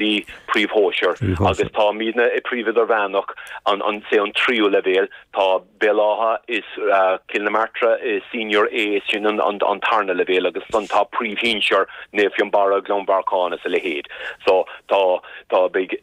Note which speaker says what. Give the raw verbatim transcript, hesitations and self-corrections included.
Speaker 1: D príomhshóisear agus táimidne i príomh idirmheánach an an sé an tríú leibhéal tá Béal Átha is uh, Cill na Martra is senior A sin an, an, an tarna leibhéal agus ansan tá príomhshinsear Naomh Fionnbarra Gleann Bhearcáin is a leithéid. So tá tá big